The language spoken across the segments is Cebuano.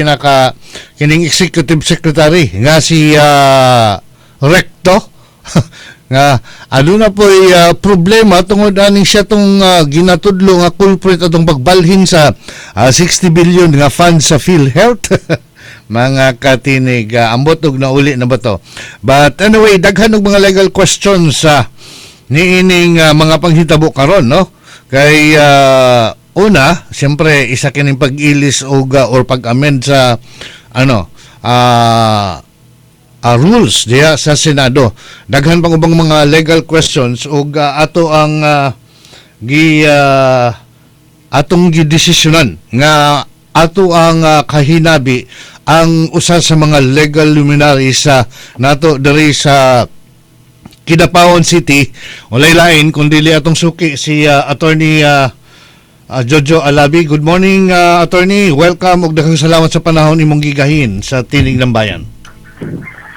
Pinaka kining executive secretary nga si Recto nga aduna po'y problema tungod aning siya tong ginatudlo nga culprit atong pagbalhin sa 60 billion nga funds sa PhilHealth. Mga katinig, ambot og nauli na ba to? But anyway, daghan og mga legal questions sa niining mga panghitabo karon, no? Kay una, siyempre isa kining pag-ilis og or pag-amend sa ano rules diha sa Senado. Daghan pang ubang mga legal questions ug ato ang gi atong gidesisyonan nga ato ang kahinabi ang usa sa mga legal luminaries sa nato diri sa Kidapawan City. Walay lain kundi atong suki, si Attorney Jojo Alabi. Good morning, Attorney. Welcome ug daghang salamat sa panahon imong gigahin sa Tinig ng Bayan.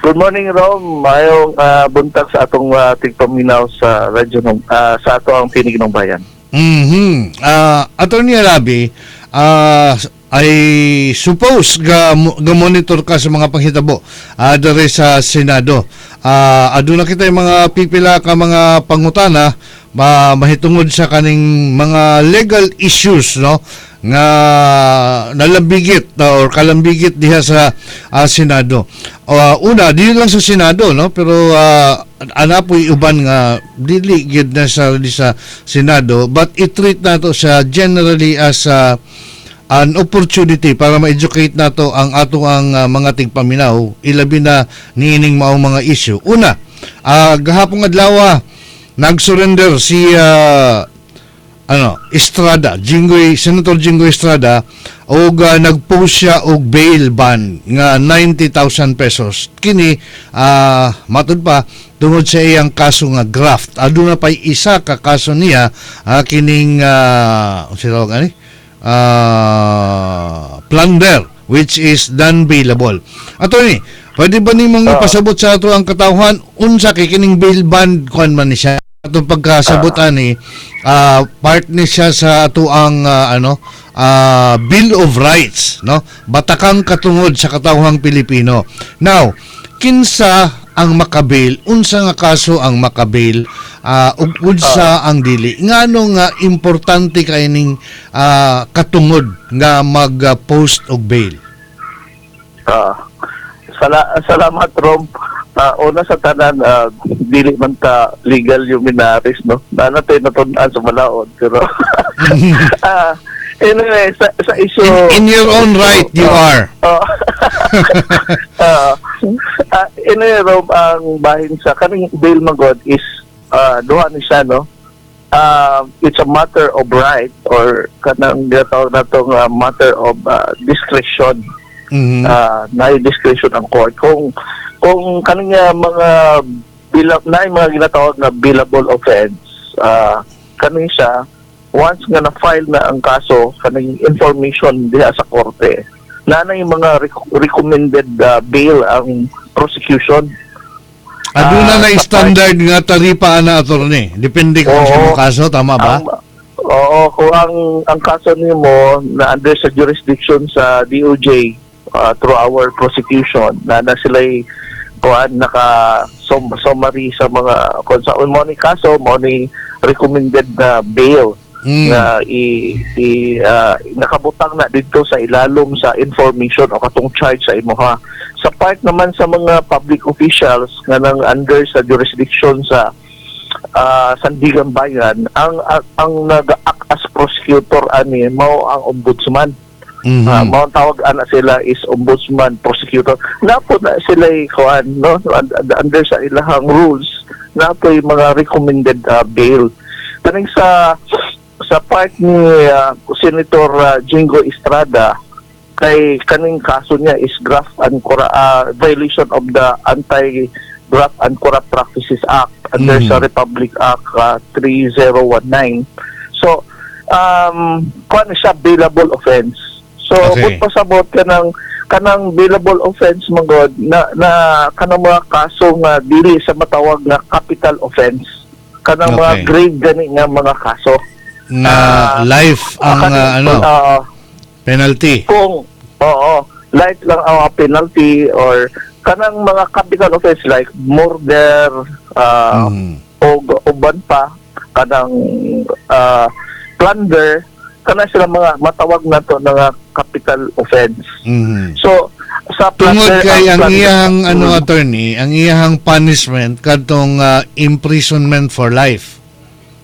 Good morning, Rom. Maayong buntag sa atong tigpaminaw sa radyo ng sa ato ang Tinig ng Bayan. Attorney Alabi, I suppose ga monitor ka sa mga panghitabo diri sa Senado. Aduna kita yung mga pipila ka mga pangutana mahitungod sa kaning mga legal issues, no, nga nalambigit or kalambigit diha sa Senado. Una, dili lang sa Senado, no, pero ana po'y uban nga dili gyud na sa Senado, but i-treat nato sa generally as an opportunity para ma-educate nato ang ato ang mga tigpaminaw, ilabi na niining maong mga issue. Una, gahapong adlaw nag-surrender si ano, Estrada, Jinggoy, Senator Jinggoy Estrada og nag-post siya og bail bond nga 90,000 pesos. Kini matud pa tungod sa iyang kaso nga graft. Aduna pay isa ka kaso niya, kining unsa tawag ani? Plunder, which is non-bailable. Attorney, pwede ba nimong ipasabot sa ato ang katawhan unsa kay kining bail bond, kuan man ni siya? Atong pagkasabot ani, part ni siya sa ato ang ano Bill of Rights, no, batakang katungod sa katawhang Pilipino. Now, kinsa ang makabail, unsa nga kaso ang makabail, ug unsa ang dili? Ngano nga importante kay ning katungod nga mag-post og bail? Salamat, Rom. Una sa tanan, dili man ta legal luminaries, no? Na natin natun-an sa balaod, pero anyway, sa issue In your own right, you are. Oh. Anyway, Rob, ang bahin sa kaning bail magod is duha ni siya, no? It's a matter of right or kanang ginatawag natong matter of discretion. Na discretion ang court. Kung kaning mga bill na mga ginatawag na bailable offense, kaning siya, once nga na-file na ang kaso, kaning information diha sa korte, na na yung mga recommended bail ang prosecution. Aduna na sa standard nga taripa ana, attorney? Depende kung sa imong kaso, tama ba? Oo, kung ang kaso nimo na under sa jurisdiction sa DOJ through our prosecution, na na sila'y kuan naka summary sa mga kung sa mo ni kaso mo ni recommended na bail nga i nakabutang na dito sa ilalom sa information o katong charge sa imoha. Sa part naman sa mga public officials nga nang under sa jurisdiction sa Sandiganbayan, ang nag-act as prosecutor ani mao ang ombudsman. Mao ang tawag ana sila is ombudsman prosecutor. Napo na sila kuan, no, under sa ilahang rules napo yung mga recommended bail. Kaning sa part ni Senator Jinggoy Estrada, kay kaning kaso niya is graft and violation of the Anti-Graft and Corrupt Practices Act under sa Republic Act 3019. So kuan siya, bailable offense. So kung pasabot ka ng kanang bailable offense magod na na kanang mga kaso nga dili sa matawag nga capital offense, kanang mga grave gani nga mga kaso na life ang ano penalty. Kung oo. Light lang ang penalty or kanang mga capital offense like murder o uban pa kanang plunder, kana sila mga matawag na to nga capital offense. So sa Tungod plunder, kay ang plunder- iyang ano, attorney, ang iyang punishment kadtong imprisonment for life.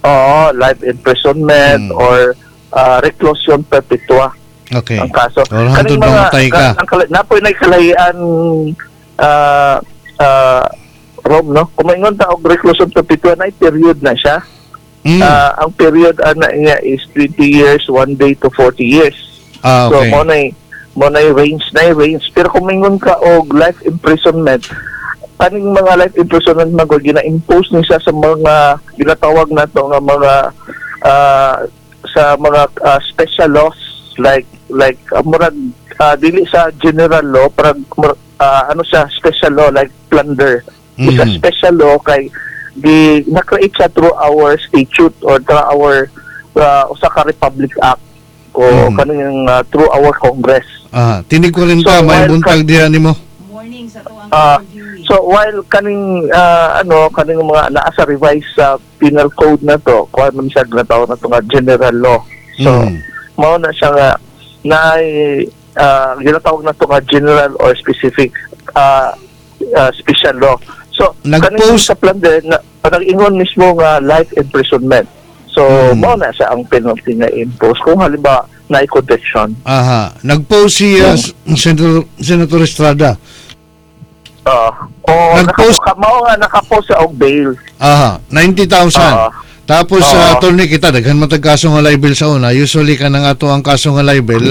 Oo, life imprisonment or reclusion perpetua ang kaso. Or hangtod mamatay ka. Ang napoy na kalahian, Rob, no? Kung maingon ta og reclusion perpetua, na period na siya. Ang period ana niya is 20 years, 1 day to 40 years. So mo na range na range. Pero kung maingon ka og life imprisonment, kaning mga life imprisonment man gud gina-impose ni siya sa mga ginatawag nato nga mga sa mga special laws like murag dili sa general law, parang ano siya, special law like plunder. Isa special law kay di na-create siya through our statute or through our usa ka Republic Act o kaning through our Congress. Tinig ko rin So, ta, may while buntag diha nimo. Morning sa tuang interviewee. So while kaning ano, kaning mga naa sa revised sa penal code na to, kuan man siya, ginatawag na to nga general law. So mao na siya nga na ginatawag na to nga general or specific special law. So Nag-post- kaning sa plunder na nag-ingon mismo nga life imprisonment. So mao na siya ang penalty nga impose kung halimbawa na conviction. Aha, nag-post si Senator Estrada. O Nag-post- mao nga nakapost siya og bail. Aha, 90,000. Tapos sa attorney kita daghan man tag kaso nga libel sa una. Usually kanang ato ang kaso nga libel,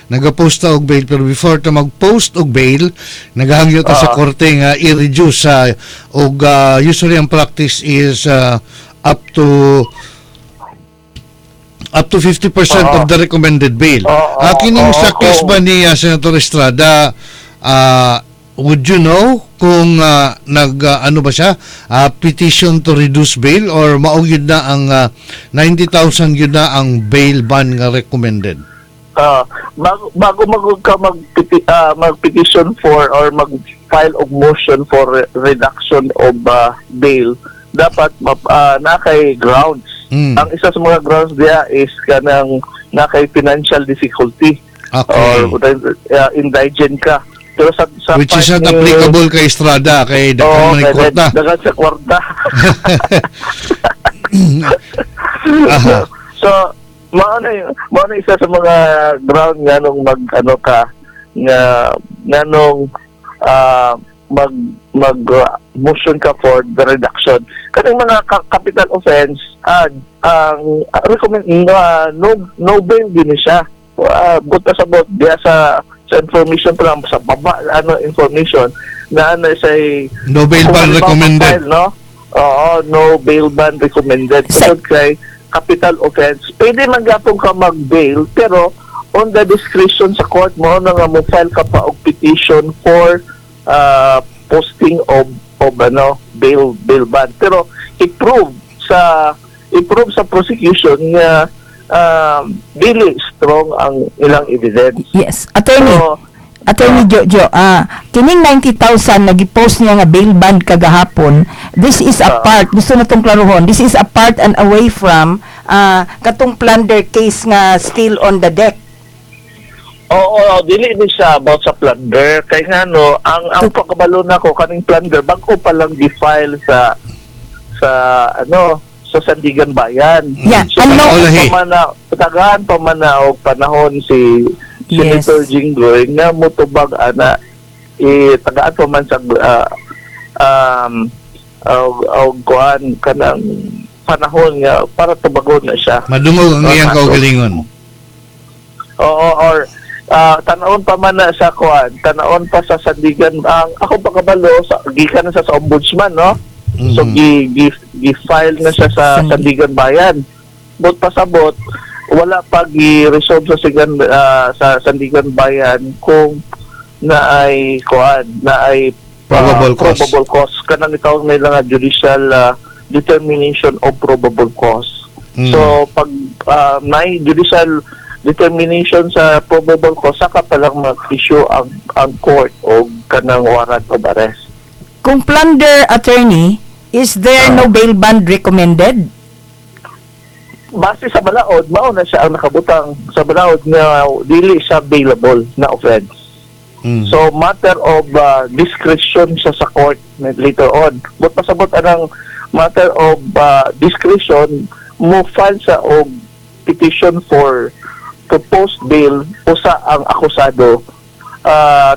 nagapost ta og bail, pero before ta mag-post og bail, naghangyo ta sa korte nga i-reduce sa og usually ang practice is up to 50% of the recommended bail. Kining sa case ba ni Senator Estrada, would you know kung nag ano ba siya, petition to reduce bail or mao gyud na ang 90,000 gyud na ang bail bond nga recommended? Bago mag ka mag-petition for or mag-file og motion for reduction of bail, dapat na kay grounds. Ang isa sa mga grounds diya is kanang na kay financial difficulty or indigent ka. Pero sa Which is part not applicable kay Estrada kay daghan Oo, man ni kay kwarta. Daghan sa kwarta. So, mao na isa sa mga ground nga nung mag ano ka nga nganong mag mag motion ka for the reduction. Kaning mga capital offense, ang recommend no no bail din siya. Buta sa bot diya sa information pa lang sa baba, ano, information na ano say No bail kung ban halimbawa recommended. file, no? Oo, no bail ban recommended. Tungod kay capital offense, pwede man gapon ka mag-bail, pero on the discretion sa court mo na nga mo file ka pa og petition for posting of ano bail bail ban. Pero i-prove sa prosecution nga dili strong ang ilang evidence. Yes. Attorney, So, Attorney Jojo, kining 90,000 na gi-post niya nga bail bond kagahapon, this is a part, gusto na tong klaruhon, this is a part and away from katong plunder case nga still on the deck. Oo, dili ni siya about sa plunder. Kay nga no, ang pagkabalo na ko kaning plunder bago pa lang gi-file sa ano sa Sandigan Bayan. Yeah, So, ano- Olahi. Tagaan pa man na og panahon si Senator Jinggoy nga motubag ana, eh, tagaan pa man sa og kuan kanang panahon nga para tubagon na siya. Madungog ang iyang Kaso. kaugalingon. Oo, or tanawon pa man na sa kuan, tanawon pa sa Sandigan. Ang ako pagkabalo sa gikan na sa ombudsman, no? So gi file na siya sa Sandigan Bayan. But pasabot wala pa gi-resolve sa Sandigan Bayan kung na ay kuan, na ay Probable cause. Probable cause kanang itawag nila nga judicial determination of probable cause. So pag may judicial determination sa probable cause, saka pa lang mag-issue ang court o kanang warrant of arrest. Kung plunder, attorney, is there no bail bond recommended? Base sa balaod, mao na siya ang nakabutang sa balaod nga dili siya bailable na offense. So matter of discretion siya sa court later on. But pasabot anang matter of discretion, mo file sa og petition for to post bail usa ang akusado,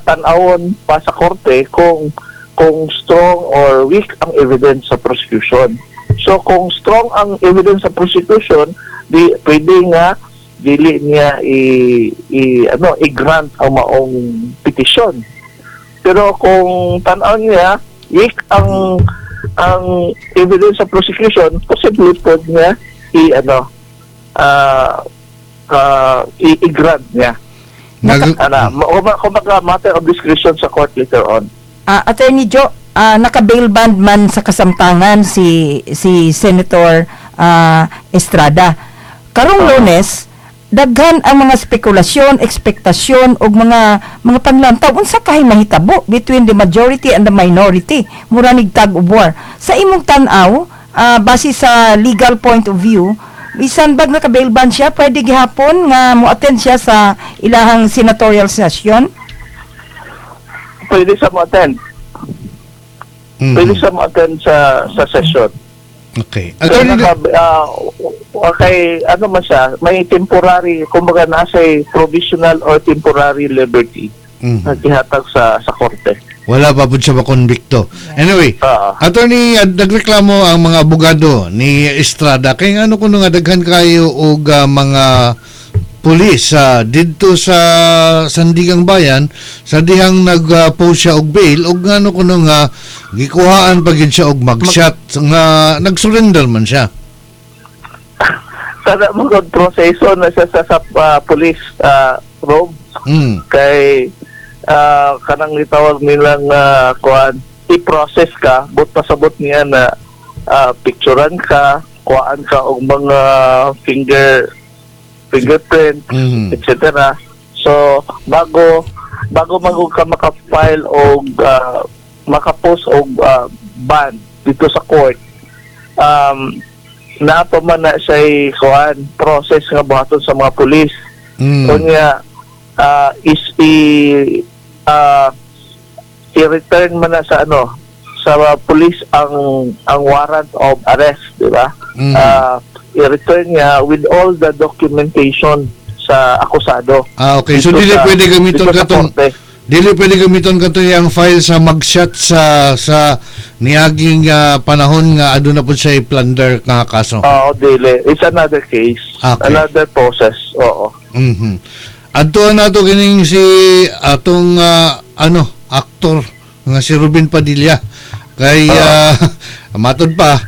tan-awon pa sa korte kung strong or weak ang evidence sa prosecution. So kung strong ang evidence sa prosecution, di pwede nga dili niya i, i ano i-grant ang maong petisyon. Pero kung tan-aw niya weak ang evidence sa prosecution, possibly pod niya i ano i-grant niya. Ana, kumbaga matter of discretion sa court later on. Attorney Joe, naka-bail bond man sa kasamtangan si si Senator Estrada. Karong Lunes, daghan ang mga spekulasyon, ekspektasyon ug mga panlantaw unsa kay mahitabo between the majority and the minority. Mura nig tug of war. Sa imong tan-aw, base sa legal point of view, bisan bag naka-bail bond siya, pwede gihapon nga mo-attend siya sa ilahang senatorial session? Pwede sa mo-attend. Pwede sa mo-attend sa session. Okay. So, Attorney, okay, ano man siya, may temporary, kumbaga nasa provisional or temporary liberty na gihatag sa korte. Wala pa po siya makonbikto. Anyway, Attorney, nagreklamo ang mga abogado ni Estrada kay ano kuno nga daghan kayo og mga pulis sa didto sa Sandigang Bayan sa dihang nag-post siya og bail, og ngano kuno nga gikuhaan pa gid siya og mugshot nga nag-surrender man siya. Kada mga proseso na siya sa police room kay kanang gitawag nilang kuan, i-process ka, but pasabot niya na picturean ka, kuhaan ka og mga fingerprint, etc. So bago bago magug ka maka-file og maka-post og bond dito sa court, naa pa man na siya kuan, process nga buhaton sa mga pulis. Unya is i-return man na sa ano, sa police ang warrant of arrest, di ba? I-return niya with all the documentation sa akusado. Ah, okay. So Dito dili pwede gamiton dito sa katong korte. Dili pwede gamiton katong iyang file sa mugshot sa niaging panahon nga aduna pud siya plunder nga kaso. Oo, dili. It's another case. Another process. Oo. Adto nato kining si atong ano, aktor nga si Robin Padilla kay matod pa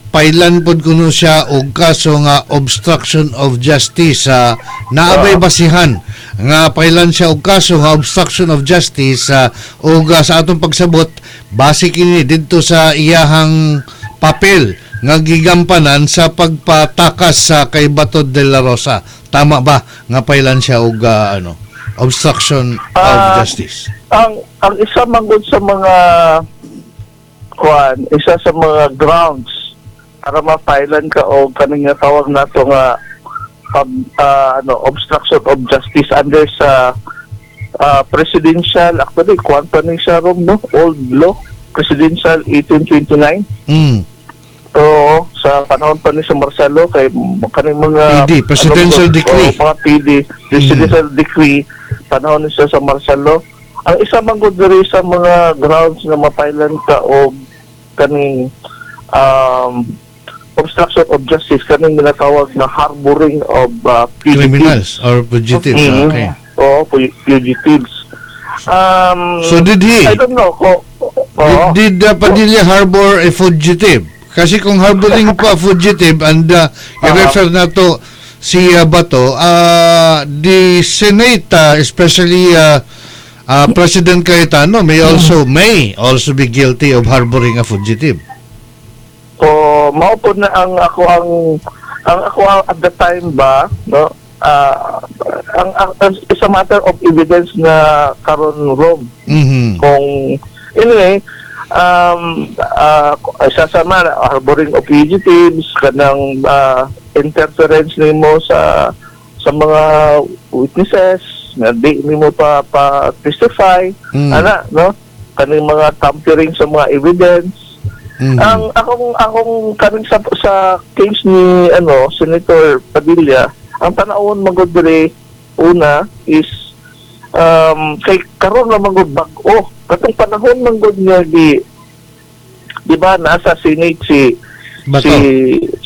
pailan pod kuno siya og kaso nga obstruction of justice. Naa bay basihan nga pailan siya og kaso nga obstruction of justice ug sa atong pagsabot, base kini didto sa iyahang papel nga gigampanan sa pagpatakas sa kay Bato de la Rosa? Tama ba nga pailan siya og ano, obstruction of justice? Ang isa manggod sa mga kuan, isa sa mga grounds para ma-filean ka og kaning nga tawag nato nga ano, obstruction of justice under sa presidential, actually kuan pa ni siya rom, no, old law, presidential 1829. Oo, sa panahon pa ni sa Marcelo kay kaning mga PD, presidential ano, decree. Oo, mga PD, presidential decree, panahon ni siya sa Marcelo. Ang isa man gud diri sa mga grounds nga mapailan ka og kaning obstruction of justice, kaning ginatawag na harboring of fugitives. Criminals or fugitives. Okay. Oo, fugitives. So did he? I don't know ko. Oo. Did Padilla harbor a fugitive? Kasi kung harboring pa fugitive and i-refer na to si Bato, the Senate, especially President Cayetano, may also be guilty of harboring a fugitive. So, mao po na ang ako ang at the time ba, no? Ang it's a matter of evidence na karon, Rom. Kung anyway, isa sa man harboring of fugitives, kanang interference nimo sa mga witnesses nga di nimo pa testify, ana, no, kaning mga tampering sa mga evidence. Ang akong kaning sa case ni ano, Senator Padilla, ang tan-awon man gud diri una is kay karon na man gud bag-o, katong panahon man gud nga di ba nasa Senate si Bato. Si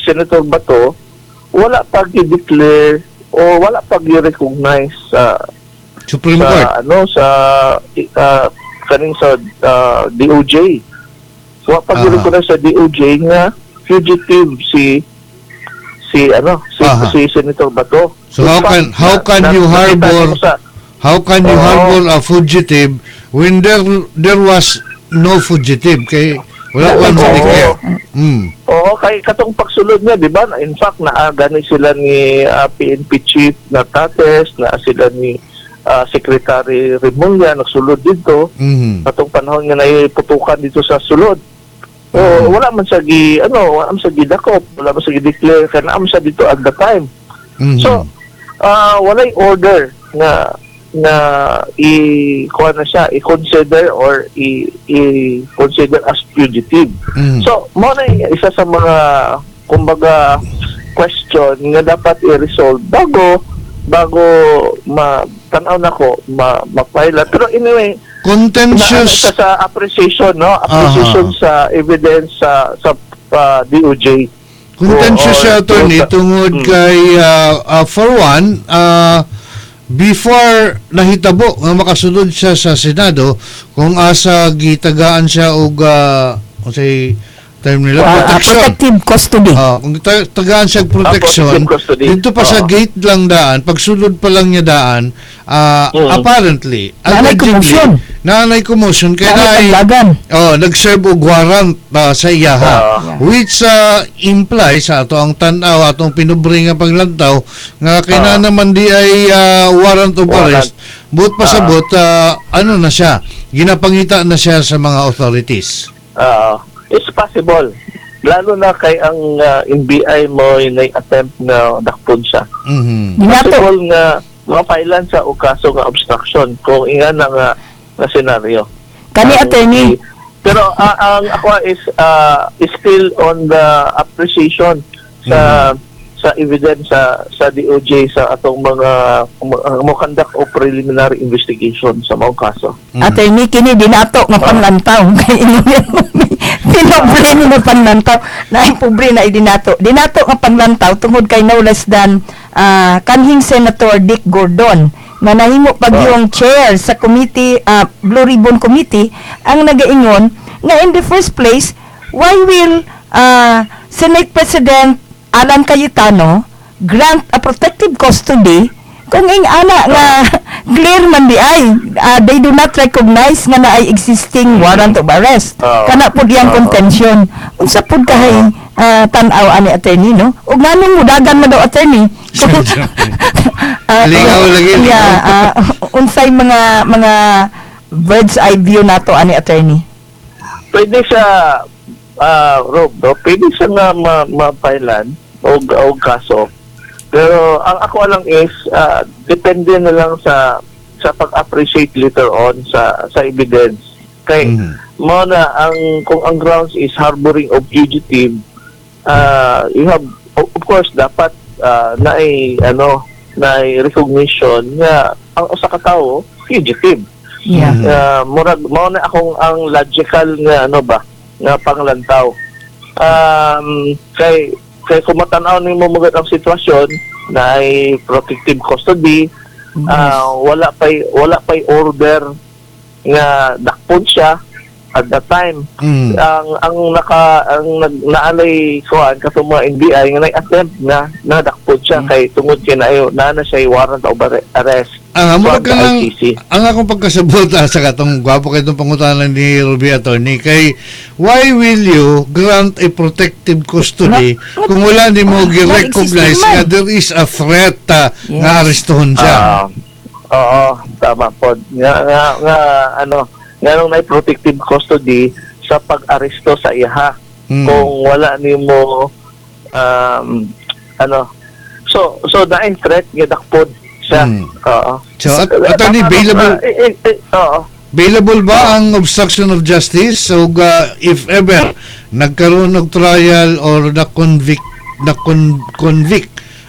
Senator Bato, wala pa gi-declare o wala pa gi-recognize sa Supreme sa Court. Ano, sa kaning sa DOJ. Wa pa gi-recognize sa DOJ nga fugitive si si ano si si Senator Bato. So how In fact, how can you nakita ko How can you harbor a fugitive when there was no fugitive, kay wala pa mo declare? Oo, kay katong pagsulod niya, di ba? In fact, naa gani sila ni PNP Chief Nartatez, naa sila ni Secretary Remulla, nagsulod dito. Katong panahon nga naiputukan dito sa sulod. O, wala man sa gi ano, wala man sa gidakop, wala man sa gi-declare kay naa man siya dito at the time. So, walay order nga na i kuha na siya, i-consider or i-consider as fugitive. So, mao na yung isa sa mga kumbaga question nga dapat i-resolve bago bago ma tan-aw nako ma ma-file. Pero anyway, Contentious. na, sa appreciation, no? Appreciation sa evidence sa DOJ. Contentious siya, attorney, tungod kay for one, before nahitabo nga makasulod siya sa Senado, kung asa gitagaan siya og unsay term nila, protection. Protective custody. Ah, kung tagaan siya og protection, Protective custody. Dito pa sa gate lang daan, pagsulod pa lang niya daan, apparently, Naanay allegedly, commotion. Naanay commotion kay Naanay naay taglagan. Oh, nag-serve og warrant sa iyaha. Which implies sa ato ang tan-aw, atong pinubre nga paglantaw nga kay na naman di ay warrant of Warrant. arrest. But pasabot ano na siya, ginapangita na siya sa mga authorities. It's possible. Lalo na kay ang NBI mo na attempt na dakpon siya. Dinato. Possible nga mapailan sa og kaso nga obstruction kung inga na nga scenario. Kani, attorney. Pero ang ako is still on the appreciation sa sa evidence sa DOJ sa atong mga mo conduct og preliminary investigation sa mga kaso. Attorney, kini dinato nga panglantaw. Kay pinobre ni nga panglantaw. Na pobre na idinato. Dinato nga panglantaw tungod kay no less than kanhing Senator Dick Gordon nga nahimo pag yung chair sa committee, Blue Ribbon Committee, ang nagaingon nga in the first place, why will Senate President Alan Cayetano grant a protective custody kung ing ana nga clear man di ay they do not recognize nga naay existing warrant of arrest? Kana pud yang contention. Unsa pud kahay tan-aw ani, attorney, no? Ug nganong mudagan man daw, attorney? Lingaw lagi, lingaw. Yeah, unsay mga bird's eye view nato ani, attorney? Pwede siya, Rob, no? Pwede siya nga mapailan og kaso. Pero ang ako lang is depende na lang sa pag-appreciate later on sa evidence. Kay mo na ang kung ang grounds is harboring of fugitive, you have of course dapat naay ano, naay recognition nga ang usa ka tawo fugitive. Murag mao na akong ang logical nga ano ba nga panglantaw. Kay kung matanaw nimo magad ang sitwasyon na ay protective custody, wala pay order nga dakpon siya. at that time. Ang naka ang nag naalay kuan katong mga NBI nga nag-attempt nga nadakpod siya kay tungod kay na na siya warrant of arrest Ang amo from ka the lang ICC. Ang akong pagkasabot sa katong gwapo kay itong pangutana ni Ruby, attorney, kay why will you grant a protective custody kung wala nimo gi-recognize Non-existing man. nga there is a threat nga arestuhon siya? Ah, oo, tama po. Nga ano, nga nung na protective custody sa pag-aresto sa iha. Kung wala nimo ano, so naay threat nga dakpod siya. Oo. So, attorney, bailable Oo. Bailable ba ang obstruction of justice? So, if ever nagkaroon og trial or na convict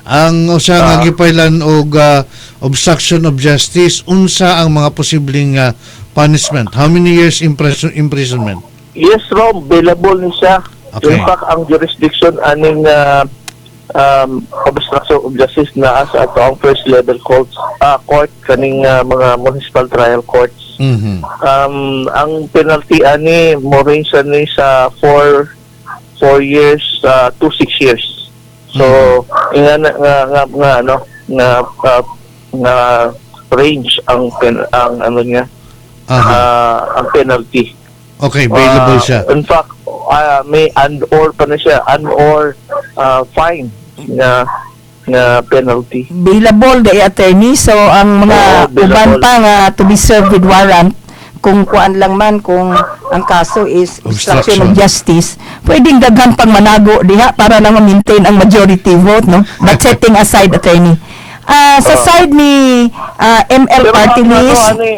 ang usa nga gipailan og obstruction of justice, unsa ang mga posibleng punishment? How many years imprisonment? Yes, Rom, bailable ni siya. In fact, ang jurisdiction aning obstruction of justice naa sa ato ang first level courts, court kaning mga municipal trial courts. Ang penalty ani mo range ani sa 4 years to 6 years. So, nga nga nga, nga ano nga range ang ano niya ang penalty. Okay, bailable siya. In fact, may and or pa na siya, and or fine nga nga penalty. Bailable the attorney, so ang mga Oo, bailable. uban pa nga to be served with warrant, kung kuan lang man, kung ang kaso is obstruction of Obstruction. justice, pwedeng daghan pang manago diha para lang ma-maintain ang majority vote, no? But setting aside, attorney, sa side ni ML Pero party ang ano, list ani,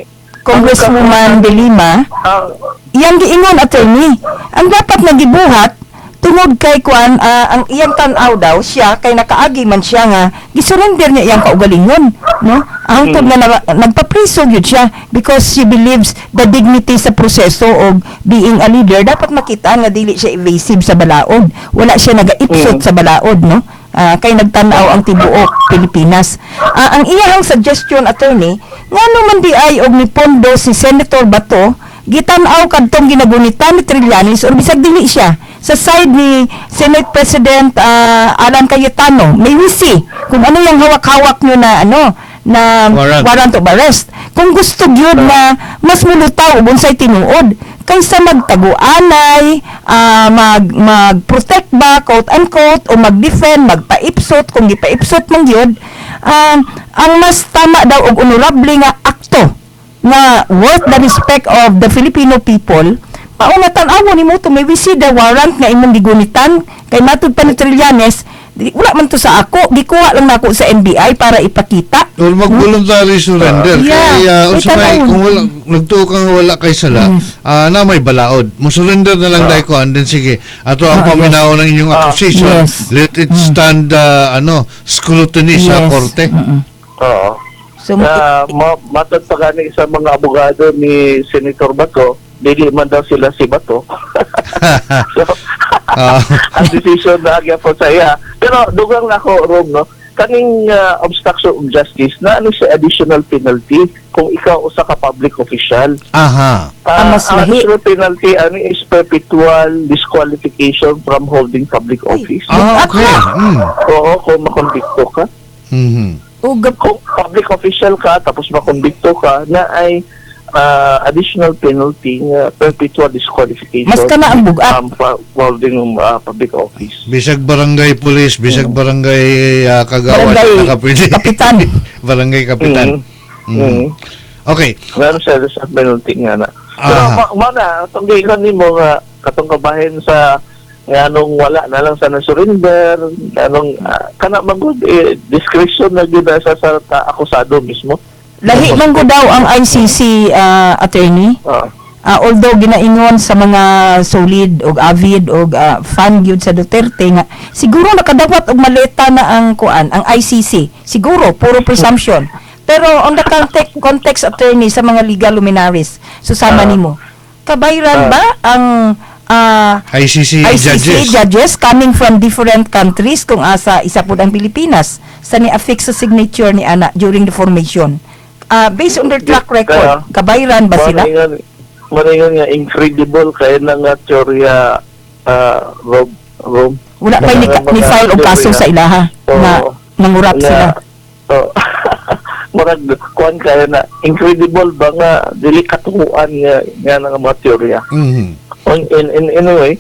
Congresswoman De Lima, ang iyang giingon, attorney, ang dapat nga gibuhat tungod kay kuan, ang iyang tan-aw daw siya kay nakaagi man siya nga gisurrender niya iyang kaugalingon, no, hangtod nga nagpapriso gyud siya because she believes the dignity sa proseso og being a leader. Dapat makita nga dili siya evasive sa balaod, wala siya nagaipsot sa balaod, no? Kay nagtan-aw ang tibuok Pilipinas. Ang iyang suggestion, attorney, ngano man di ay og nipondo si Senator Bato, gitan-aw kadtong ginagunitan ni Trillanes or bisag dili siya sa side ni Senate President Alan Cayetano, may we see kung ano yung hawak-hawak nyo na ano na Warrant. Warrant of arrest, kung gusto gyud na mas mulutaw ug unsay tinuod kaysa magtaguanay, mag protect ba, quote unquote, o mag-defend, magpaipsot kung gipaipsot man gyud. Ang mas tama daw og honorable nga akto nga worth the respect of the Filipino people, mauna tan-awon nimo to, may we see the warrant nga imong gigunitan, kay matud pa ni Trillanes, wala man to sa ako, gikuha lang nako sa NBI para ipakita. Or mag-voluntary surrender. Kaya, unsa may, May tan-awon. Kung wala, nagtuo kang wala kay sala, na may balaod. Mo surrender na lang dahil ko, and then sige, ato ang paminaw ng inyong accusation. Let it stand, ano, scrutiny sa korte. Oo. So, Matod pa gani sa mga abogado ni Senator Bato, dili man daw sila si Bato. So, ang decision na gyapon sa iya. Pero dugang na ako, Rom, no? Kaning obstruction of justice na ano siya additional penalty kung ikaw usa ka public official. Ah, mas Ang lahi. additional penalty ano is perpetual disqualification from holding public office. Ah, okay. Oo, kung makonbikto ka. Kung public official ka tapos makonbikto ka na ay additional penalty nga perpetual disqualification Mas kana ang bugat. Holding public office. Bisag barangay police, bisag barangay kagawad, Barangay nakapwede. kapitan. Barangay kapitan. Okay. Meron siya sa penalty nga na. Pero ma na, itong giingon nimo nga katong kabahin sa nga nung wala na lang sa na-surrender, anong kana man gud eh, discretion na gyud na sa akusado mismo. Lahi man gud daw ang ICC, attorney. Although ginaingon sa mga solid og avid og fan gyud sa Duterte nga siguro nakadawat og maleta na ang kuan, ang ICC. Siguro puro presumption. Pero on the context, attorney, sa mga legal luminaries, susama nimo. Kabayran ba ang ICC, ICC judges. Judges coming from different countries kung asa isa pud ang Pilipinas sa ni-affix sa signature ni ana during the formation? Based on their track record, Kaya- kabayran ba sila? Mao na. Maningon nga incredible kay na nga teorya, Rob Rob. Wala pa ni file og kaso sa ilaha na nangurap sila. Oh. Murag kuan kayo na incredible ba nga dili katuohan nga nga nga mga teorya. In anyway,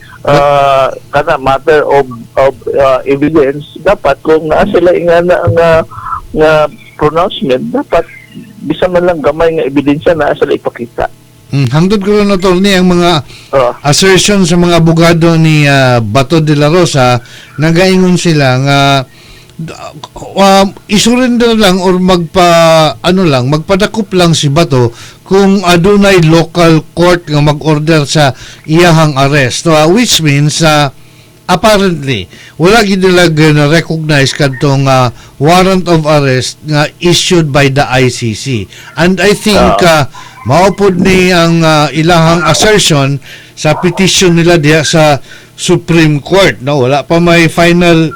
kana matter of evidence, dapat kung naa sila ingana nga nga pronouncement, dapat bisan man lang gamay nga ebidensya naa sila ipakita. Hangtod karon, attorney, ang mga assertion sa mga abogado ni Bato de la Rosa, nagaingon sila nga isurrender lang or magpa ano lang, magpadakop lang si Bato kung adunay local court nga mag-order sa iyahang arrest. So, which means apparently wala gid nila na recognize kadtong warrant of arrest nga issued by the ICC, and I think mao pod ni ang ilahang assertion sa petition nila diha sa Supreme Court, no? Wala pa may final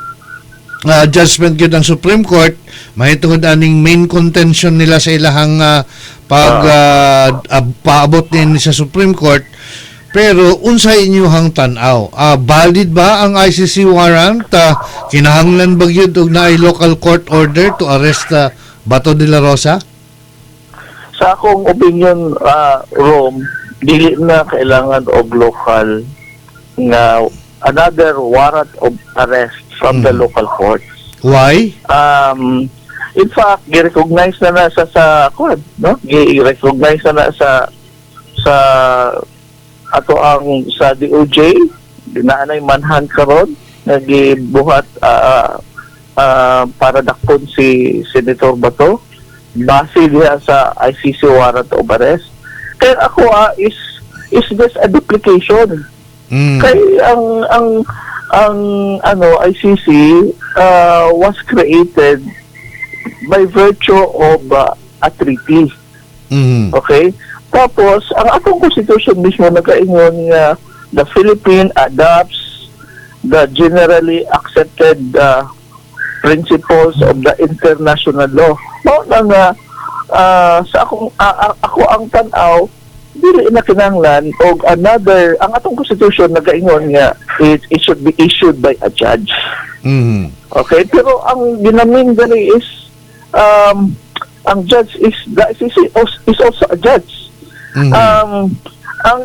judgment gyud ang Supreme Court mahitungod aning main contention nila sa ilahang pag paabot din sa Supreme Court. Pero unsay inyuhang tan-aw? Valid ba ang ICC warrant? Kinahanglan ba gyud og naay local court order to arrest Bato de la Rosa? Sa akong opinion, Rome, dili na kailangan og local nga another warrant of arrest from the local courts. Why? In fact, gi-recognize na na sa kuan, no? Gi-recognize na na sa ato ang sa DOJ, naanay manhunt karon nagibuhat para dakpon si Senator Bato base diha sa ICC warrant of arrest. Kaya ako is this a duplication? Kay ang ano ICC was created by virtue of a treaty. Okay? Tapos ang atong constitution mismo nagaingon nga the Philippine adopts the generally accepted principles of the international law. Mao na nga sa akong ako ang tan-aw, dili na kinahanglan og another. Ang atong constitution nagaingon nga it should be issued by a judge. Okay, pero ang ginamin dali is ang judge is the ICC is also a judge. Ang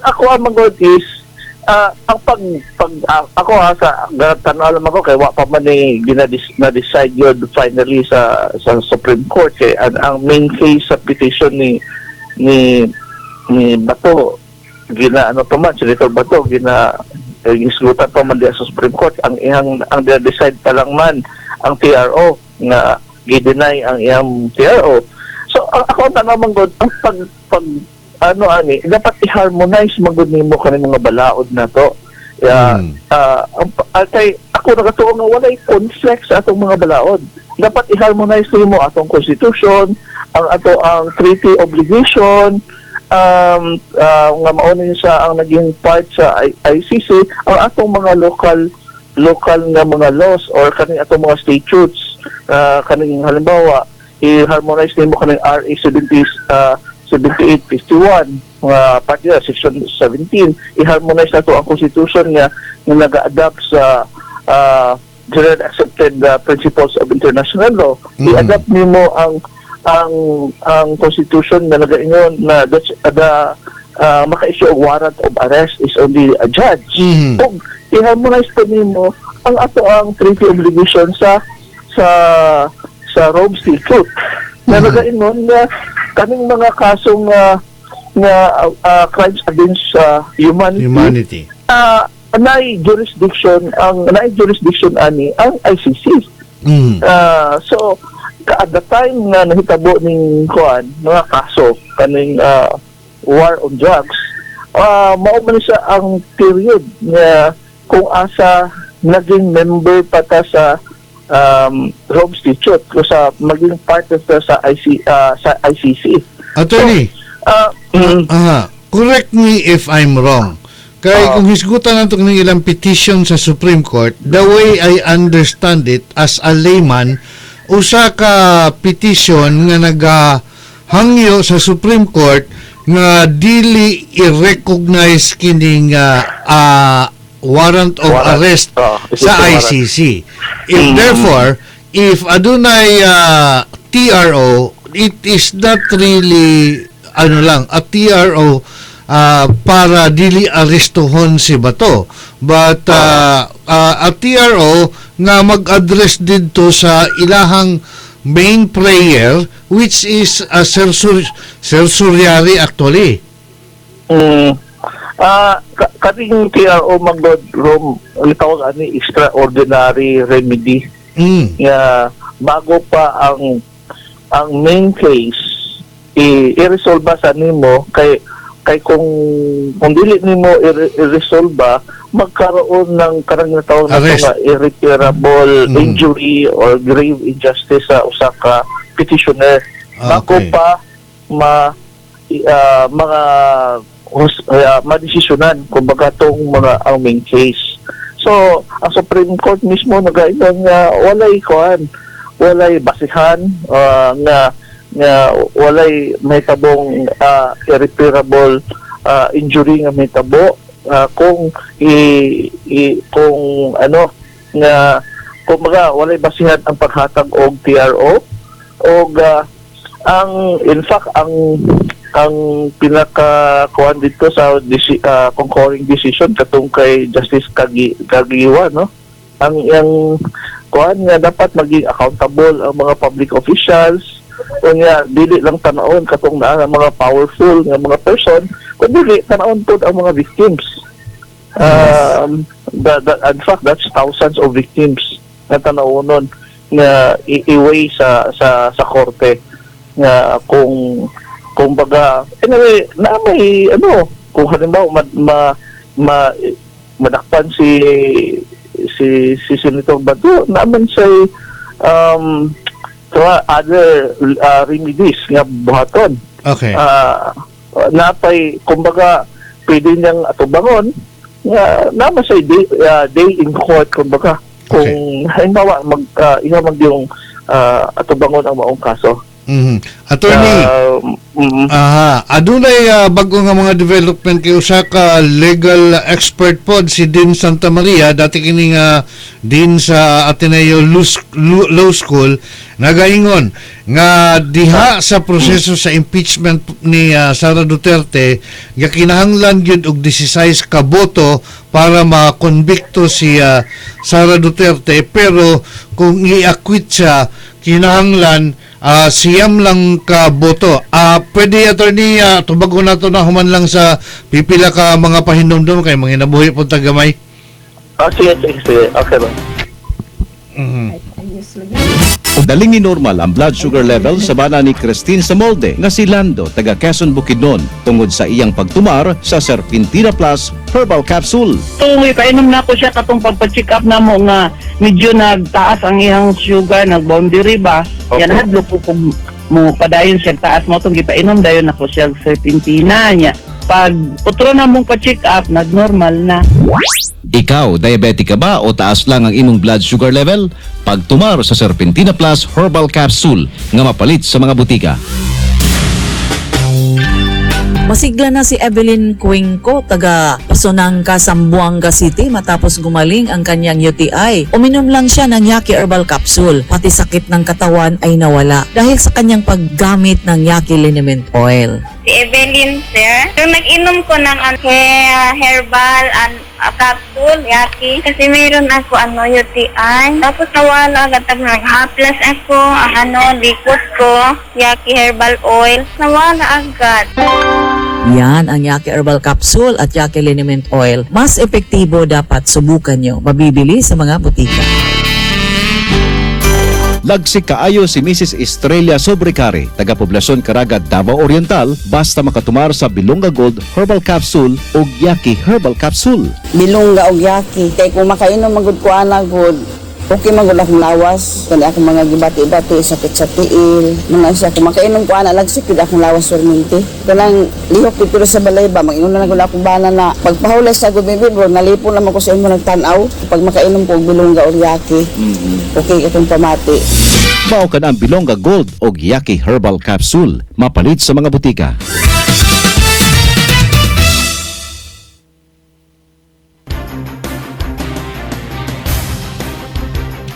ako ang magod is ang pag pag ako ha, sa tanaw lang ako kay wa pa man ni na decide yun finally sa Supreme Court, kay ang main case sa petition ni Bato, gina ano pa man, Senator Bato, gina gisgutan pa man diya sa Supreme Court. Ang iyang ang decide pa lang man ang TRO nga gi-deny ang iyang TRO. So ang ako ang tanaw man gud, ang pag pag ano ani, dapat i-harmonize man gud nimo kani mga balaod na to. Yeah, kay ako nagatuo nga walay conflict sa atong mga balaod. Dapat i-harmonize nimo atong constitution, ang ato ang treaty obligation, nga mao ni siya ang naging part sa ICC, ang atong mga local local nga mga laws or kaning atong mga statutes, kaning halimbawa i-harmonize nimo kaning RA 70 7851 mga part nila, section 17, i-harmonize na to ang constitution nga nga naga-adapt sa general accepted principles of international law. I-adapt nimo ang constitution na nagaingon na the maka-issue og warrant of arrest is only a judge. Ug i-harmonize pa nimo ang ato ang treaty obligation sa Rome Statute na nagaingon nga kaning mga kasong nga crimes against humanity, Humanity. Naay jurisdiction ani ang ICC. So at the time nga nahitabo ning kuan mga kaso kaning war on drugs, mao man siya ang period nga kung asa naging member pa ta sa Rome Statute o sa maging part ta sa ICC. Attorney, aha, correct me if I'm wrong. Kay kung hisgutan nato ng ilang petition sa Supreme Court, the way I understand it as a layman, usa ka petition nga nagahangyo sa Supreme Court nga dili i-recognize kining warrant of Warrant. arrest Oo, sa warrant. ICC. If therefore, if adunay TRO, it is not really ano lang, a TRO para dili arestuhon si Bato. But a TRO nga mag-address didto sa ilahang main prayer, which is a certiorari actually. Kaning TRO man gud, Rom, ang tawag ani extraordinary remedy nga bago pa ang main case i-resolve sa nimo, kay kay kung dili nimo i-resolve, magkaroon ng karang tawag na Arrest. nga irreparable injury or grave injustice sa usa ka petitioner bago pa ma mga madesisyonan kumbaga tong mga ang main case. So, ang Supreme Court mismo nagaingon nga walay kuan, walay basihan nga nga walay mahitabong irreparable injury nga mahitabo kung i kung ano nga kumbaga walay basihan ang paghatag og TRO. Og ang in fact ang pinaka kuan dito sa concurring decision katong kay Justice Caguioa, no, ang yang kuan nga dapat maging accountable ang mga public officials. Unya dili lang tanawon katong naa nga mga powerful nga mga person, kundi tanawon pod ang mga victims. In fact, that's thousands of victims na tanawonon nga i-weigh sa korte nga kung kumbaga anyway na may ano, kung halimbawa ma madakpan si Senator Bato, naman siya other remedies nga buhaton. Napay kumbaga pwede niyang atubangon nga naman siya day in court, kumbaga kung halimbawa mag iha mag yung atubangon ang maong kaso. Attorney, Aha, adunay bago nga mga development kay usa ka legal expert pod, si Dean Santa Maria, dati kini nga dean sa Ateneo Law School, nagaingon nga diha sa proseso sa impeachment ni Sara Duterte nga kinahanglan gyud og 16 ka boto para makonbikto si Sara Duterte, pero kung i-acquit siya, kinahanglan 9 lang ka boto. Pwede, attorney, tubagon nato na human lang sa pipila ka mga pahinumdum kay mga nabuhi po tagamay. Sige, sige, sige. Okay ba? Daling ni normal ang blood sugar level sa bana ni Christine Samolde nga si Lando taga Quezon, Bukidnon tungod sa iyang pagtumar sa Serpentina Plus Herbal Capsule. So, may painom na ako siya katong pagpa-check up na mo nga medyo nagtaas ang iyang sugar, nag-boundary ba. Yan hadlo po kung mo padayon siya taas mo itong gipainom dayon ako siya serpentina niya. Pag utro na mong pa-check up, nag-normal na. Ikaw, diabetic ka ba o taas lang ang imong blood sugar level? Pagtumar sa Serpentina Plus Herbal Capsule nga mapalit sa mga butika. Masigla na si Evelyn Cuenco, taga Pasonanca, Zamboanga City, matapos gumaling ang kanyang UTI. Uminom lang siya ng Yaki Herbal Capsule. Pati sakit ng katawan ay nawala dahil sa kanyang paggamit ng Yaki Liniment Oil. Si Evelyn, sir. So, nag-inom ko ng herbal and capsule, Yaki. Kasi meron ako, ano, UTI. Tapos nawala agad. Tapos nag-haplas ako, ang ano, likot ko, Yaki herbal oil. Nawala agad. Yan ang Yaki Herbal Capsule at Yaki Liniment Oil. Mas epektibo, dapat subukan nyo. Mabibili sa mga butika. Lagsik kaayo si Mrs. Estrella Sobrecare, taga Poblacion Caraga, Davao Oriental, basta makatumar sa Bilonga Gold Herbal Capsule o Yaki Herbal Capsule. Bilongga og Yaki. Kay kung makainom man gud ko ana gud, okay man gud akong lawas. Kani akong mga gibati-bati, sakit sa tiil. Mga siya, kung makainom ko ana, lagsik gud akong lawas permente. Kanang lihok gud pero sa balay ba, mag-ingon na gud akong bana na pagpahulay sa gud baby bro, nalipon naman ko sa imo nagtan-aw. Pag makainom ko og Bilongga og Yaki, okay akong pamati. Mao kan ang Bilonga Gold o Yaki Herbal Capsule, mapalit sa mga butika.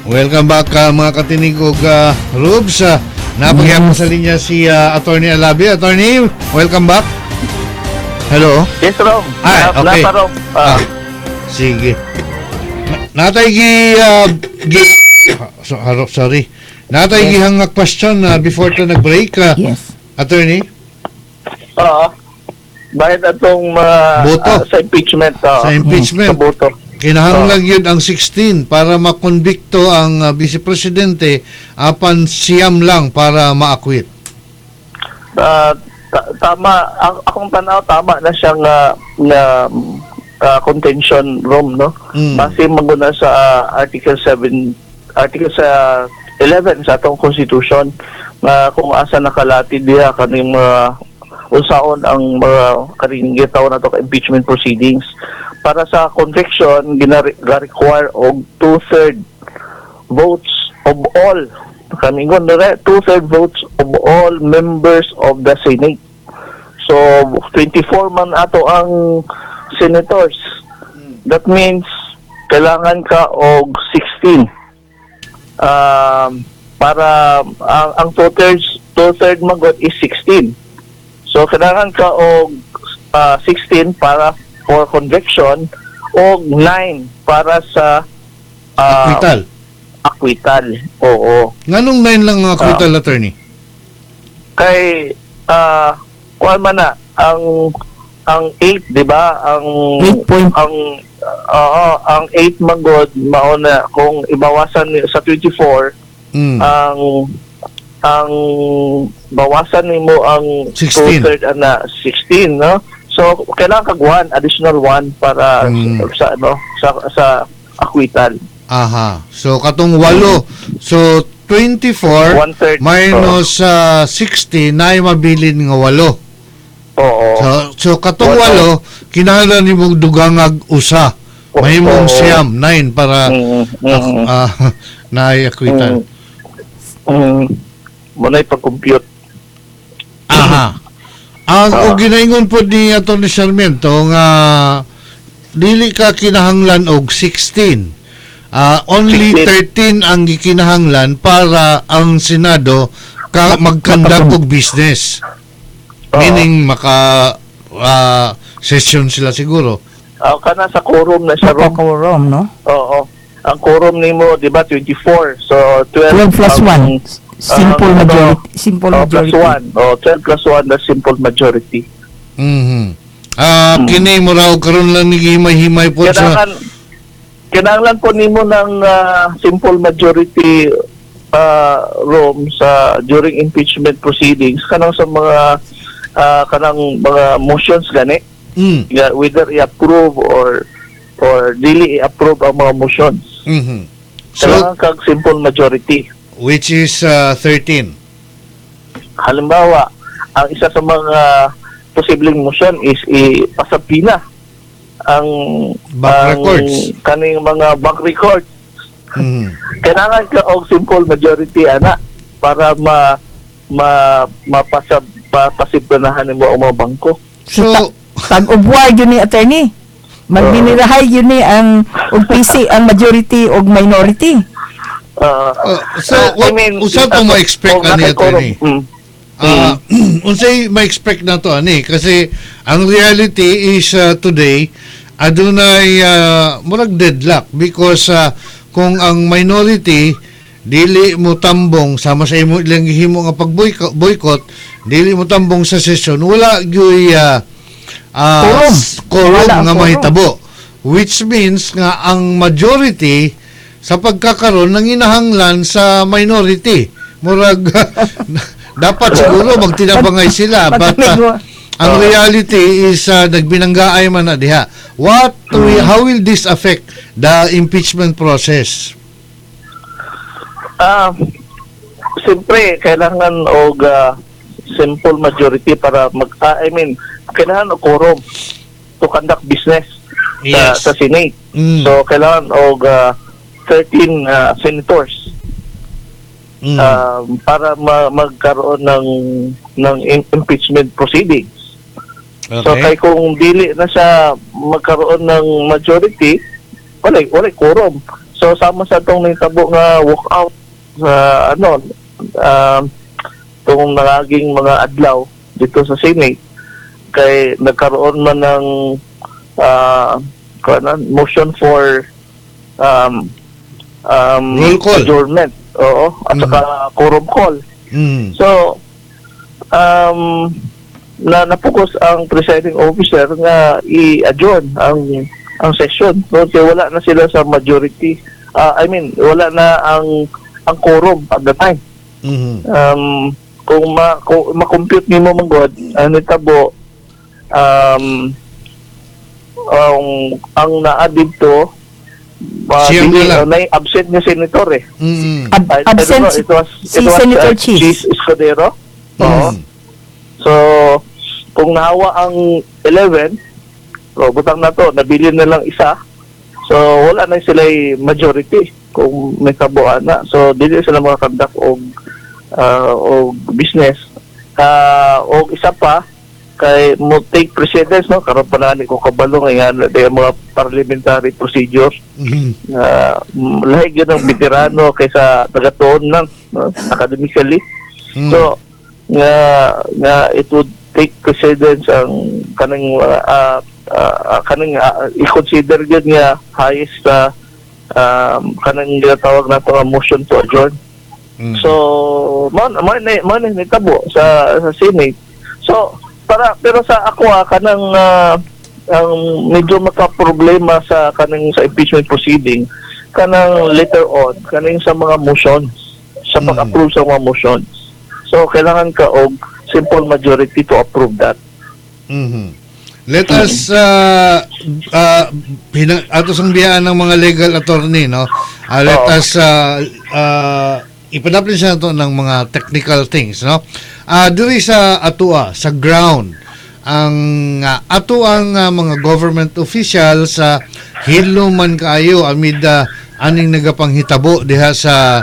Welcome back, mga katinig ug Rubes. Napagyapon sa linya si Attorney Alabi. Attorney, welcome back. Hello. Yes, Rom. Ay, okay. Napa, Rom. Sige. Natay gi, gi so, sorry. Natay gihang nga question before to nag-break. Attorney? Oo. Bakit atong Boto. Sa impeachment? Sa impeachment. Sa boto. Kinahanglan yun ang 16 para makonbikto ang vice presidente, apan 9 lang para ma-acquit. Tama, akong tanaw, tama na siyang na contention, Rom, no? Base maguna sa Article 7, Article sa 11 sa atong Constitution nga kung asa nakalati diha kaning mga unsaon ang mga kaning gitawag nato ka impeachment proceedings. Para sa conviction, gina-require og two-third votes of all, kaningon dire, two-third votes of all members of the Senate. So 24 man ato ang senators. That means kailangan ka og 16 para ang two-third magod is 16. So kailangan ka og 16 para for conviction og 9 para sa Acquittal. Acquittal. Oo. Nganong 9 lang ang acquittal, attorney? Kay kuan man na ang 8, di ba? Ang ang oo, ang 8 magod mao na kung ibawasan sa 24, ang bawasan nimo ang 16. two-third ana 16, no? So kailangan kag one additional one para sa ano sa acquittal. Aha. So katong walo. So 24 One-third. minus 60 na mabilin nga walo. Oo. So katong Walo. walo kinahanglan nimong dugangag usa. Mahimong 9, 9 para naay acquittal. Mo na pag-compute. Aha. Ang og ginaingon po ni Atty. Sarmiento nga dili ka kinahanglan og 16. Only 13 ang gikinahanglan para ang Senado ka mag-conduct og business. Meaning maka session sila siguro. Kana sa quorum na siya, Rom. Quorum, no? Oo. Ang quorum nimo, di ba, 24. So 12 12 plus 1. Simple majority. Simple oh, plus majority. 1. Oh, 12 plus 1, the simple majority. Kini mo raw karon lang ni himay-himay po sa Kailangan po nimo ng simple majority, Rom, sa during impeachment proceedings kanang sa mga kanang mga motions gani. Yeah, whether i-approve or dili i-approve ang mga motions. So, Kailangan kag simple majority. Which is 13. Halimbawa, ang isa sa mga posibleng motion is ipasabina ang Bank ang records. Kaning mga bank records. Kailangan ka og simple majority ana para ma ma mapasab pasibanahan nimo ang mga bangko. So, tag-ubwa yun ni attorney. Magbinirahay yun ni ang og PC ang majority og minority. So, what, unsa to ma-expect ani, attorney? Unsay ma-expect na to ani kasi ang reality is today adunay murag deadlock because kung ang minority dili mo tambong sama sa imo ilang gihimo nga pag-boycott boycott, dili mo tambong sa session, wala gyuy Quorum. Quorum Wala ang nga quorum. mahitabo, which means nga ang majority sa pagkakaroon nanginahanglan sa minority. Murag dapat siguro magtinabangay sila, but ang reality is nagbinanggaay man na diha. How will this affect the impeachment process? Siyempre kailangan og simple majority para mag I mean, kailangan og quorum to conduct business sa Senate. So kailangan og 13 senators para magkaroon ng impeachment proceedings. So kay kung dili na siya magkaroon ng majority, wala quorum. So sama sa atong nahitabo nga walkout sa ano, tong nangaging mga adlaw dito sa Senate, kay nagkaroon man ng kuan, motion for Roll call. Adjournment. Oo, at saka quorum call. So na napokus ang presiding officer nga i-adjourn ang session, no? Kaya wala na sila sa majority. I mean, wala na ang quorum at the time. Kung ma-compute nimo man god, ang nitabo, ang naa didto Siyam dili, na lang. Na absent nga senator eh. I don't Absent know, si it was, Senator Chiz. Chiz Escudero. Oo. So, kung nahawa ang 11, so butang na to, nabilin na lang isa. So, wala na sila majority kung may kabuuan na. So, dili sila makakonduct og business. Og isa pa, kay mo take precedence, no, karon pa na ni ko kabalo nga nga mga parliamentary procedures na lahi gyud ang veterano kaysa tagatuon lang, no, academically. So nga nga it would take precedence ang kaning kaning i-consider gyud nga highest kanang ginatawag nato nga motion to adjourn. So man nitabo sa Senate. So para pero sa ako, kanang ang medyo makaproblema sa kaning sa impeachment proceeding, kanang later on, kaning sa mga motions, sa pag-approve sa mga motions. So kailangan ka og simple majority to approve that. Let us ato sang biyaan ng mga legal attorney, no? Let us ipadapin siya nato ng mga technical things, no? Diri sa atua, sa ground, ang ato ang mga government officials sa hinlo man kaayo amid aning nagapanghitabo diha sa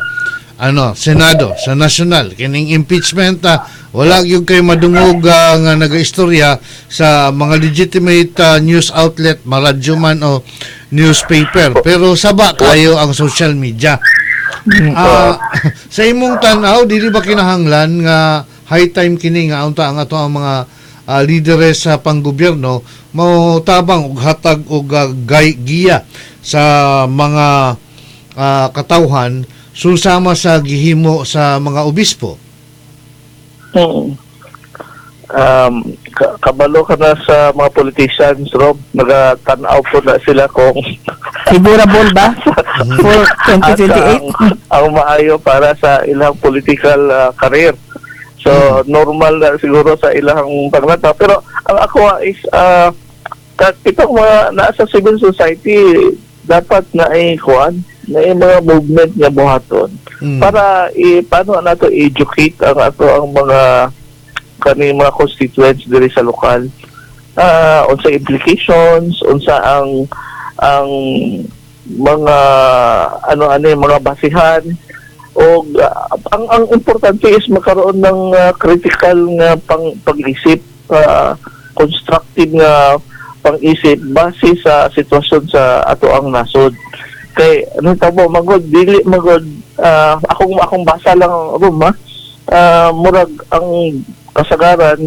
ano, Senado, sa national kining impeachment. Wala gyud kay madungog nga nagaistorya sa mga legitimate news outlet, maradyo man o newspaper, pero saba kayo ang social media. Sa imong tan-aw, dili ba kinahanglan nga high time kini nga unta ang ato ang mga lideres sa panggobyerno mo tabang og hatag og giya sa mga katawhan, susama sa gihimo sa mga obispo? Kabalo ka na sa mga politicians, Rob. Nagatanaw po na sila kung Favorable ba for 2028? Asa ang maayo para sa ilang political career. So, normal na siguro sa ilang paglata. Pero ang ako is, itong mga nasa civil society, dapat na ay kuan, na ay mga movement nga buhaton para paano nato i-educate ang ato ang mga kani mga constituents diri sa lokal, unsa implications, unsa ang mga ano ano yung mga basihan, o ang importante is magkaroon ng critical nga pang pag-isip, constructive nga pang-isip base sa sitwasyon sa ato ang nasod. Kay ano tabo magod, dili magod, akong akong basa lang room ha, murag ang kasagaran,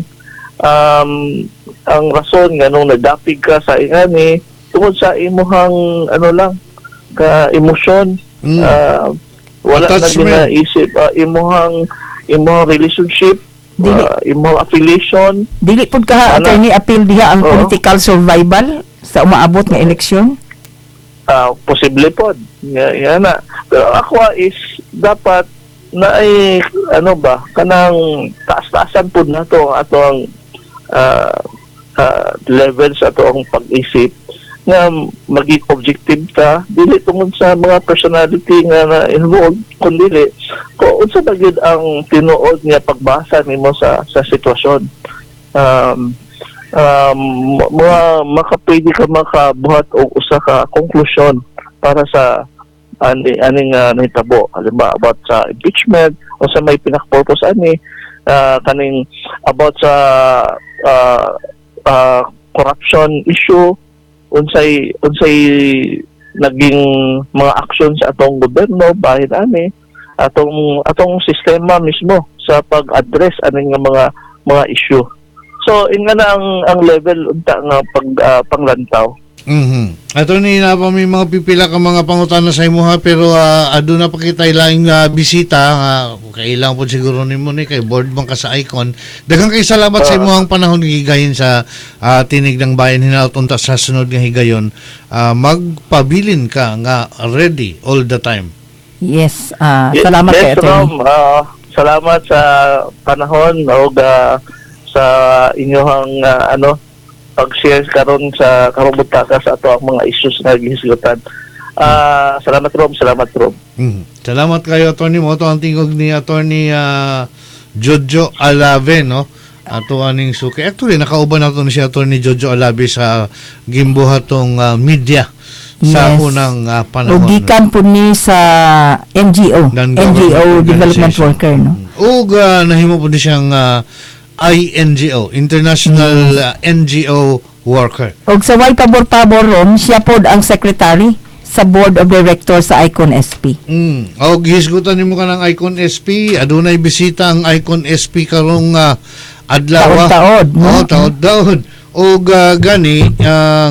ang rason nga nung nagdapig ka sa ingani tungod sa imuhang ano lang ka emosyon, wala na Attachment. Ginaisip imuhang imuhang relationship, imuhang affiliation. Dili pud ka, Ana. Attorney, appeal diha ang Oo. Political survival sa umaabot nga eleksyon? Posible pod nga na, pero ako is dapat na ay ano ba, kanang taas-taasan pod nato ang ato ang levels, ato ang pag-isip nga maging objective ta, dili tungod sa mga personality nga na involved, kundi kung unsa ba gyud ang tinuod nga pagbasa nimo sa sitwasyon, mga makapwede ka makabuhat og usa ka konklusyon para sa ani aning nahitabo, halimbawa about sa impeachment, o sa may pinaka-purpose ani, kaning about sa corruption issue, unsay unsay naging mga aksyon sa atong gobyerno bahin ani atong atong sistema mismo sa pag-address ani nga mga mga issue. So inga na ang level unta nga pag panglantaw. Attorney, na pa may mga pipila ka mga pangutana sa imuha, pero aduna pa kita laing bisita, kailang po siguro nimo ni kay board man ka sa Icon. Daghang kay salamat sa imuhang panahon gigayin sa Tinig ng Bayan. Hinaut unta sa sunod nga higayon magpabilin ka nga ready all the time. Yes, salamat yes, kay Attorney. Rom, salamat sa panahon og sa inyong ano pag-share karon sa karong buntaga sa ato ang mga issues nga gihisgutan. Salamat Rom, salamat Rom. Salamat kayo, Attorney. Mo to ang tingog ni Attorney Jojo Alave, no? Ato aning suki. Actually, nakauban nato ni si Attorney Jojo Alave sa gimbuhatong media sa unang panahon. O gikan po ni sa NGO, Non-government NGO Development organization. Worker, no? Ug nahimo po ni siyang INGO, International NGO Worker. Og sa way pabor-pabor ron, siya pod ang secretary sa Board of Directors sa Icon SP. Og hisgutan nimo kanang Icon SP, adunay bisita ang Icon SP karong adlaw. Taod-taod, no? Oh, taod-taod. Og gani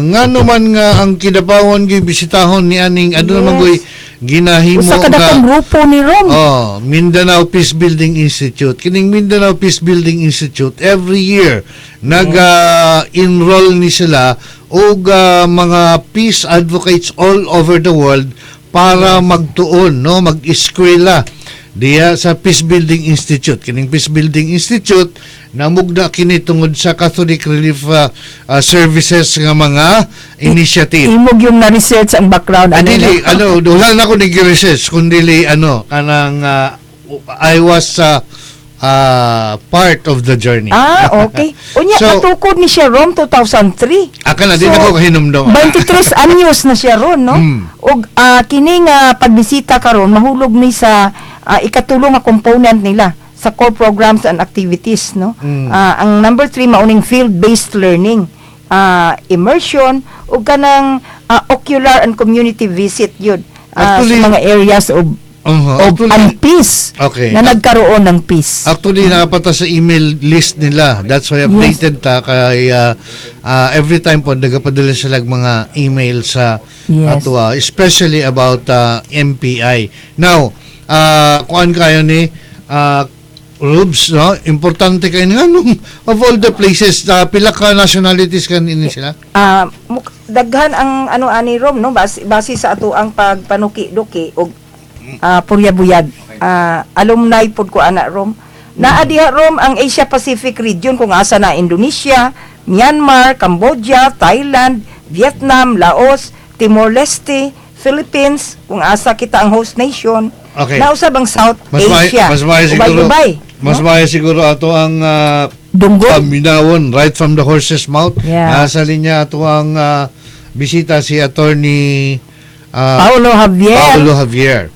ngano man nga ang Kidapawan gibisitahon ni aning aduna man goy ginahimo Usa ka dakong grupo ni Rom. Oh, Mindanao Peace Building Institute. Kining Mindanao Peace Building Institute every year nag-enroll ni sila og mga peace advocates all over the world para magtuon, no, mag-eskwela diya sa Peace Building Institute. Kining Peace Building Institute namugna kini tungod sa Catholic Relief Services nga mga initiative. Imog yung na-research ang background ano, Dili, no? ano, wala na ako nag-research, kundi ano, kanang I was part of the journey. Ah, okay. Unya, So, katukod ni siya Rom 2003. Aka na, di So, na ko kahinumdum. 23 anyos na siya ron, no? Og kini nga pagbisita karon mahulog ni sa ikatulo nga component nila sa core programs and activities, no? Ang number 3 mauning field-based learning, immersion ug kanang ocular and community visit yun Actually, sa mga areas of of Actually, and peace na nagkaroon ng peace. Actually, nakapata sa email list nila. That's why updated ta kay every time po nagapadala sila og mga email sa ato, especially about MPI. Now, kuan kayo ni Rubes, no? Importante kayo nga nung of all the places, pila ka nationalities kan ini sila? Daghan ang ano ani Rom, no, base sa ato ang pagpanuki-duki og purya buyag. Alumni pod ko ana Rom. Naa diha Rom ang Asia Pacific region kung asa na Indonesia, Myanmar, Cambodia, Thailand, Vietnam, Laos, Timor-Leste, Philippines, kung asa kita ang host nation. Nausab ang South Mas Asia. mas maayo siguro Ubay-ubay, mas no? maayo siguro ato ang Dunggo. Paminawon right from the horse's mouth. Nasa linya ato ang bisita si Attorney Paulo Javier. Paulo Javier.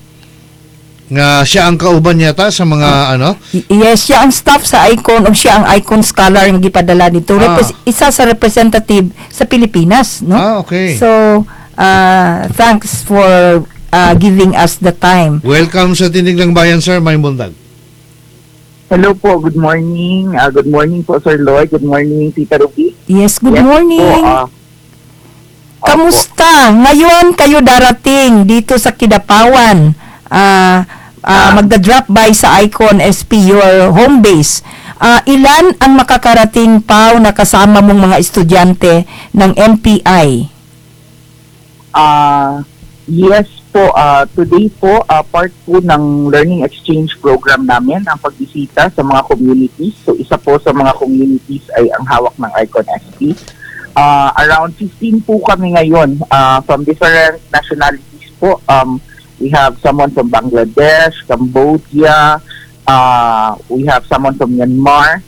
Nga siya ang kauban yata sa mga ano? Yes, siya ang staff sa ICON o siya ang ICON scholar nga gipadala dito. Isa sa representative sa Pilipinas, no? Ah, okay. So, thanks for giving us the time. Welcome sa Tinig ng Bayan, sir. May buntag. Hello po, good morning. Good morning po, Sir Lloyd. Good morning, Tita Ruby. Yes, good Yes morning. po, Kamusta? Ngayon kayo darating dito sa Kidapawan. Magda-drop by sa Icon SP, your home base. Ilan ang makakarating, Pau, na kasama mong mga estudyante ng MPI? Yes po, today po, part po ng learning exchange program namin ang pagbisita sa mga communities. So isa po sa mga communities ay ang hawak ng Icon SP. Around 15 po kami ngayon from different nationalities po. We have someone from Bangladesh, Cambodia, we have someone from Myanmar,